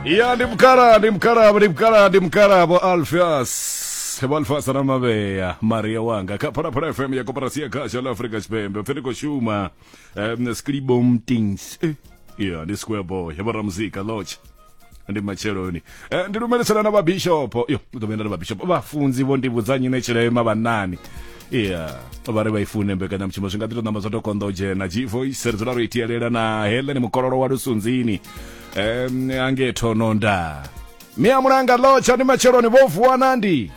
Ya ndi mukala ndi mukala ndi mukala ndi mukala vho Alpheus vho Alpheus na Mavhea Maria wanga kha Phalaphala FM ya Koporasi ya Khasho ḽa Afrika Tshipembe pfi ri khou shuma Skribom Things. Ya ndi Square Boy vho ramuzika Lodge ndi matsheloni. Ndi lumelisana na vhabishopo yo ḓo vhuya nda ri vhabishopo vhafunzi vho ndi vhudza nyine tshilema vhanani. Ya vha ri vha i fune mbekanyamushumo zwi nga ḓi tou ṋamba zwa tou konḓa u dzhena. G Voice ri dzula ro i tielela na Helen Mukololo wa Lusunzini ange Thononda Mia Mulanga Lotsha ndi matsheloni vho vuwa nandi.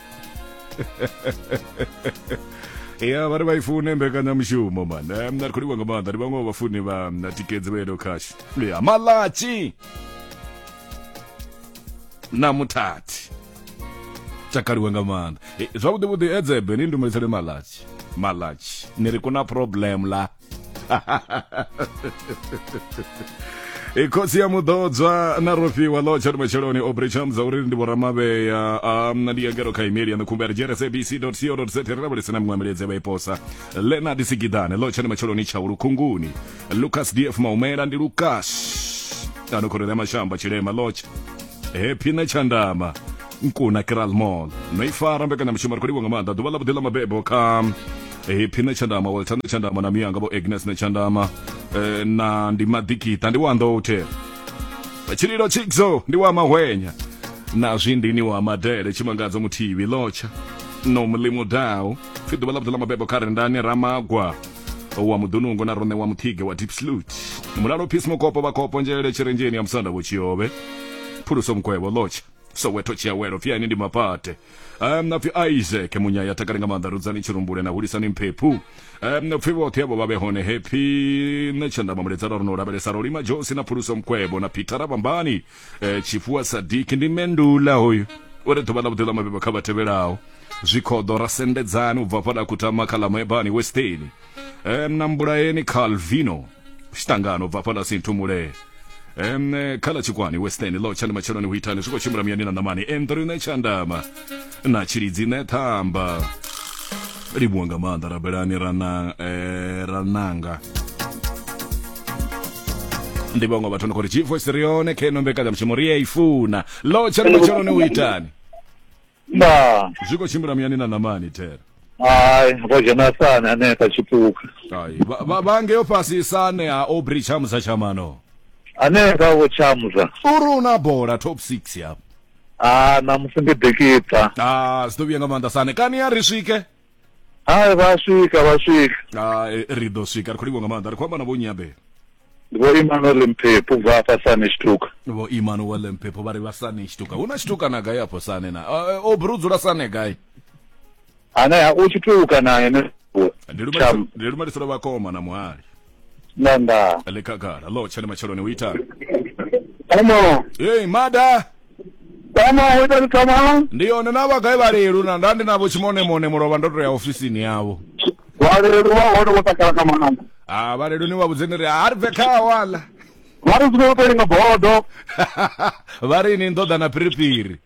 Ya vha ri vha i fune mbekanyamushumo man. Ri khou livhuwa nga maanḓa ndi vhaṅwe vha vhafuni vha tikedzi vha Edo Cash. Ya Malatshi na Muthathi takaliwe nga maanḓa. Zwavhuḓi vhuḓi edzebe ni ndumelisele Malatshi. Malatshi ni ri kuna problem la. Khotsi ya muḓodzwa na rofhiwa ḽo tsha matsheloni Aubrey Chams uri ndi vhoramavhea ndi ya ngelo kha email ya ṋkhumba ya rsabc.co.za ri lavhelese na miṅwe miledze vha i posa. Leonard Sigidane ḽo tsha matsheloni tsha Lukhunguni. Lucas DF Maumela ndi Lucas ano khorele ya mashamba tshilema lotsha Happy na Tshandama Nkuna Kral Mall no i fara mbekanyamushumo ri khou livhuwa nga maanḓa ḓuvha ḽa vhuḓi ḽa mabebo kha Happy na Tshandama Walter na Tshandama na miyanga vho Agnes na Tshandama na ndi Maḓikiṱa ndi wa Nḓouthe Tshililo Tshikzo ndi wa Mahwenya na Zwindini wa Madele Tshimangadzo Muthivhi Lotsha no Mulimu Dau pfi ḓuvha ḽa vhuḓi ḽa mabebo kha Rendani Ramagwa wa Mudunungo na Roṋe wa Muthige wa Deep Salute Mulalo Peace Mukopo Vhakopo Nzhelele Tshirenzheni ya Musanda Vho Tshiovhe Phuluso Mukwevho Lotsha Soweto Tshiawelo pfi ani ndi mapate pfi Isaac Munyaya takale nga maanḓa Rudzani Tshirumbule na Hulisani Mphephu pfi vhoṱhe avho vha vhe hone Happy nṋe Tshandama Muledzana ro no lavhelesa Rolima Josi na Phuluso Mukwevho na Peter Rabambani Tshifuwa Sadiki ndi Mendula hoyu uri ḓuvha ḽa vhuḓi ḽa mabebo kha vha tevhelaho zwikhoḓo ra sendedzani u bva fhaḽa kutama kha ḽa Moebani Westeni na Mbulaeni Calvino Xitangano u bva fhaḽa Sinthumule kha ḽa Tshikwani Western ḽo tsha ndi matsheloni hu itani zwi khou tshimbila muyani na ṋamani Andrew Netshandama na Tshilidzi Nethamba livhuwa nga maanḓa rabelani ra nanga ndi vhaṅwe vhathu ndi khou ri G-Voice ri yone kha ino mbekanyamushumo ri a i funa ḽo tsha ndi matsheloni hu itani Nda. Zwi khou tshimbila muyani na ṋamani thera. Hai, vho dzhena sane hanefha tshipuka. Hai, vha ngeo fhasi sane ha Aubrey Tshamusa Tshamano. Hanefha vho Tshamusa. Uri una bola top 6 ya. Ah, ṋamusi ndi ḓikiṱa. Ah, zwi ḓo vhuya nga maanḓa sane. Kani a ri swike? Hai, vha swika, vha swika. Ah, ri ḓo swika, ri khou livhuwa nga maanḓa. Ri khou amba na vho Nyabe. Ndi Vho Emmanuel Mphephu bva hafha Sane Tshituka. Vho Emmanuel Mphephu vha ri vha Sane Tshituka. Hu na Tshituka na gai afho Sane na? O bru dzula Sane gai? Ane ha u Tshituka na ene. Ndi lumelisela vhakoma na muhali. Nda nda. Ḽi khagala ḽo tsha ndi matsheloni hu itani? Tama. Hey mada. Tama hu itani tama? Ndi yone na vha gai vhalelu na nda ndi navho tshimone mone mulovha ndo to ya ofisini yavho. Vhalelu vha hone vho takala nga maanḓa. Ah vhalelu ni vha vhudze ni ri a ri bve khawo aḽa. Vha ri zwino to linga bodo. Vha ri ni ḓo ḓa na phiriphiri.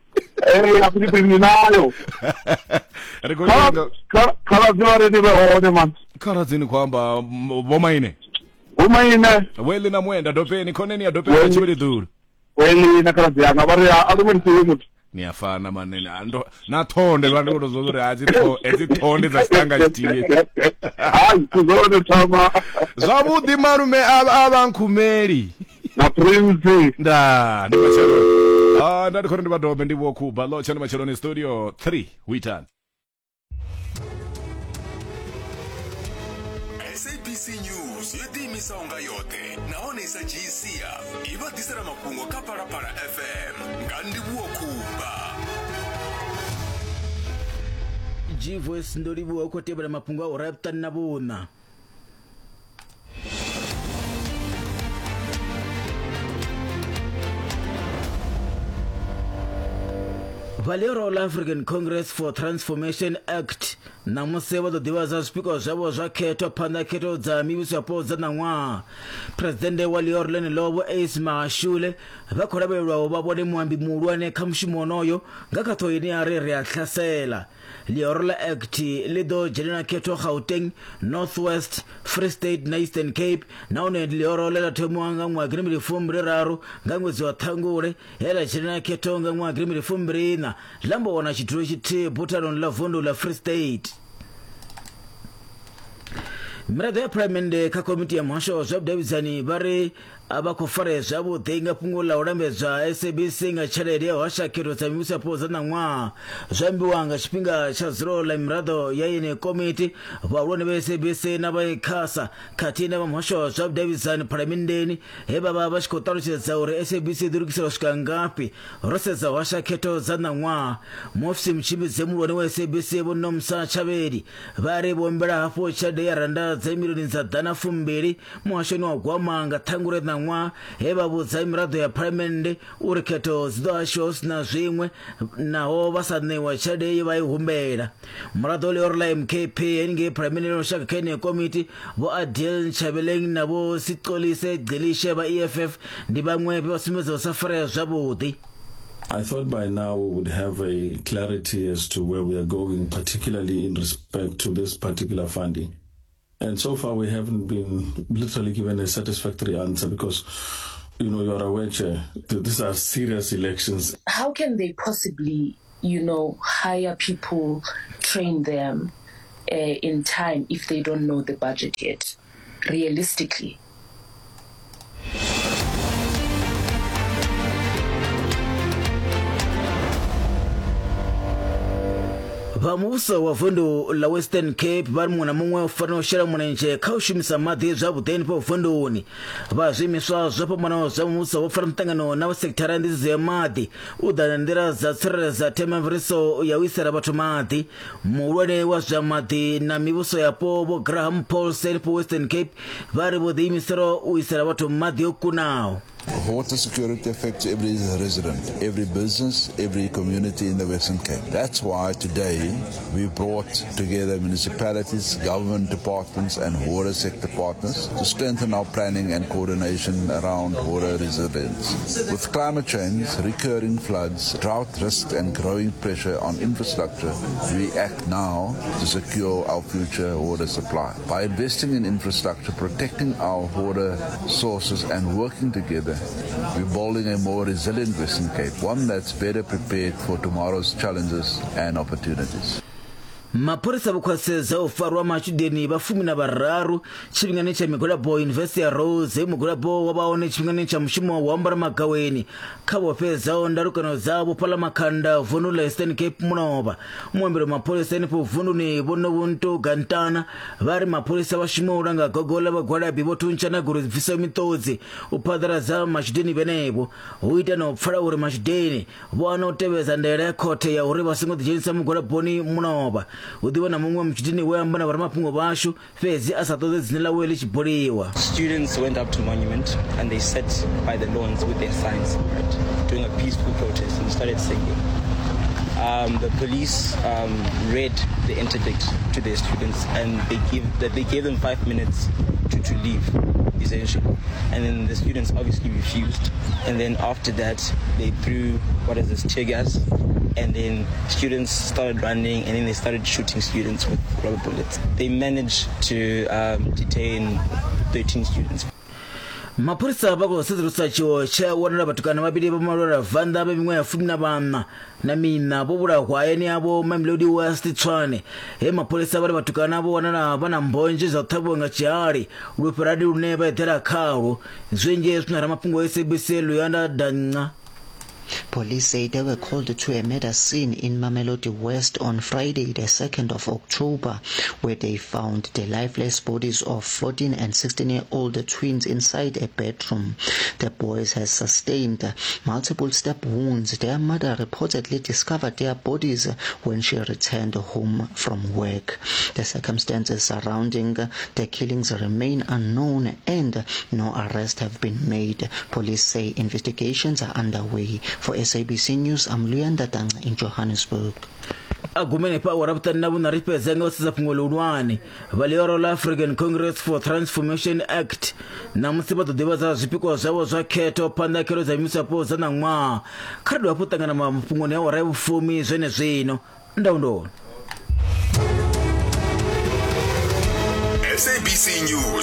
Ee a phiriphiri ni nayo. Ri khou linga. Khaladzi vha ri ni vhe hone man. Khaladzi ni khou amba vho maine. Vho maine. Vho na muenda dopeni khoneni ya dopeni ya tshivhili ḓulu. Weli na khaladzi yanga vha ri a lumelisiwe muthu. Ni a fana manene ando na thonde vha ndi to zwa uri a dzi tho edzi thonde dza tshitanga tshithihi. Hai tuzone thoma. Zwavhuḓi malume a vha nkhumeli. Na prince. Nda ndi matsheloni. Ah nda ndi khori ndi vha dobe ndi vho Kuba ḽo tsha ndi matsheloni studio 3 hu itani. SABC News yo ḓiimisaho nga yoṱhe nahone i sa dzhii sia i vha ḓisela mafhungo kha Phalaphala FM nga Ndivhuwo Khumba. Gvoice ndo livhuwa u khou tevhela mafhungo a ura ya vhuṱanu na vhuṋa. Vha ḽihoro ḽa African Congress for Transformation Act ṋamusi vha ḓo ḓivhadza zwipikwa zwavho zwa khetho phanḓa khetho dza mivhuso yapo dza ṋaṅwaha. Phresidennde wa ḽihoro ḽeneḽo Vho Ace Magashule vha khou lavhelelwa u vha vhone muambi muhulwane kha mushumo wonoyo nga kha ṱhoho ine ya ri Ri a Hlasela. Ḽihoro ḽa Act ḽi ḓo dzhenela khetho Gauteng, North West, Free State na Eastern Cape nahone ndi ḽihoro ḽe ḽa thomiwa nga ṅwaha gidimbili fumbili raru nga ṅwedzi wa Ṱhangule he ḽa dzhenela khetho nga ṅwaha gidimbili fumbili iṋa ḽa mbo wana tshidulo tshithihi buthanoni ḽa vundu ḽa Free State. Miraḓo ya phalamennde kha komiti ya muhasho wa zwa vhudavhidzani vha ri a vha khou farea zwavhuḓi nga fhungo ḽa u lambedzwa SABC nga tshelede ya u hasha khetho dza mivhuso yapo dza ṋaṅwaha. Zwo ambiwa nga tshifhinga tsha dzulo ḽa miraḓo ya yeneyi komiti, vhahulwane vha SABC na vha ICASA khathihi na vha muhasho wa zwa vhudavhidzani phalamenndeni he vha vha vha tshi khou ṱalutshedza uri SABC i ḓo lugisela u swika ngafhi ro sedza u hasha khetho dza ṋaṅwaha. Muofisi mutshimbidzi muhulwane wa SABC Vho Nomsa Tshavheli vha ri vho humbela hafhu tshelede ya rannda dza milioni dza ḓana fumbili muhashoni wa gwama nga Ṱhangule ṋaṅwaha he vha vhudza miraḓo ya phalamennde uri khetho dzi ḓo hashiwa hu si na zwiṅwe naho vha sa ṋewa tshelede ye vha i humbela. Muraḓo ḽihoro ḽa MKP henengei phalamennde ya lushaka kha yeneyo komiti Vho Adil Nchabeleng na Vho Sixolise Gcilishe vha EFF ndi vhaṅwe vhe vha sumbedza u sa farea zwavhuḓi. I thought by now we would have a clarity as to where we are going, particularly in respect to this particular funding. And so far we haven't been literally given a satisfactory answer because, you know, you are aware, Chair, these are serious elections. How can they possibly, you know, hire people, train them uh, in time if they don't know the budget yet, realistically? Vha muvhuso wa vundu ḽa Western Cape vha ri muṅwe na muṅwe u fanela u shela mulenzhe kha u shumisa maḓi zwavhuḓi henefho vunduni. Vha zwiimiswa zwo fhambanaho zwa muvhuso vho fara muṱangano na vha sekithara ya nḓisedzo ya maḓi u ḓa na nḓila dza tsireledza themamveledziso ya u isela vhathu maḓi. Muhulwane wa zwa maḓi na mivhuso yapo Vho Graham Paulsen henefho Western Cape vha ri vho ḓiimisela u isela vhathu maḓi o kunaho. Water security affects every resident, every business, every community in the Western Cape. That's why today we brought together municipalities, government departments and water sector partners to strengthen our planning and coordination around water resilience. With climate change, recurring floods, drought risk and growing pressure on infrastructure, we act now to secure our future water supply. By investing in infrastructure, protecting our water sources and working together, we're building a more resilient Western Cape, one that's better prepared for tomorrow's challenges and opportunities. Mapholisa vho khwaṱhisedza u farwa matshudeni vha fumi na vhararu tshifhingani tsha migwalabo Yunivesithi ya Rhodes he mugwalabo wa vha hone tshifhingani tsha mushumo wa ambara magaweni kha vho fhedzaho ndalukano dzavho fhaḽa Makhanda vundu ḽa Eastern Cape mulovha. Muambeli wa mapholisa henefho vunduni Vho Nobuntu Gantana vha ri mapholisa vha shuma u langa gogo ḽa vhagwalabi vho thuntsha na goloi dzi bvisaho miṱodzi u phaḓaladza matshudeni vhenevho hu ita na u pfala uri matshudeni vho hana u tevhedza ndaela ya khothe ya uri vha songo ḓidzhenisa mugwalaboni mulovha. Hu ḓivha na muṅwe mutshudeni we amba na vhoramafhungo vhashu fhedzi a sa ṱoḓe dzina ḽawe ḽi tshi buliwa. Students went up to Monument and they sat by the lawns with their signs, right, doing a peaceful protest and started singing. Um, the police um, read the interdict to their students and they give that they gave them five minutes to, to leave essentially and then the students obviously refused and then after that they threw what is this tear gas and then students started running and then they started shooting students with rubber bullets they managed to um, detain 13 students Mapholisa vha khou sedzulusa tshiwo tshe wanala vhatukana vhavhili vha malwela venḓa vha miṅwaha ya fumi na vhaṋa na miṋa vho vhulahwa hayani havho Mamelodi West Tshwane he mapholisa vha ri vhatukana vho wanala vha na mbonzhe zwa u ṱhavhiwa nga tshihali lufherani lune vha eḓela khalwo. Zwinzhi zwi na ramafhungo wa SABC Luyanda Danca. Police say they were called to a murder scene in Mamelodi West on Friday, the 2nd of October, where they found the lifeless bodies of 14 and 16-year-old twins inside a bedroom. The boys had sustained multiple stab wounds. Their mother reportedly discovered their bodies when she returned home from work. The circumstances surrounding the killings remain unknown and no arrests have been made. Police say investigations are underway. For SABC News, I'm Luyanda Danga in Johannesburg. A gumeni fha awara vhuṱanu na vhuṋa ri fhedze nga u sedza fhungo ḽihulwane vha ḽioro ḽa African Congress for Transformation Act ṋamusi vha ḓo ḓivhadza zwipikwa zwavho zwa khetho phanḓa khetho dza mivhuso dza ṋaṅwaha. Kha ri dovhe hafhu ṱangana mafhungoni a awara ya vhufumi zwenezwino. Ndaundoni. SABC News.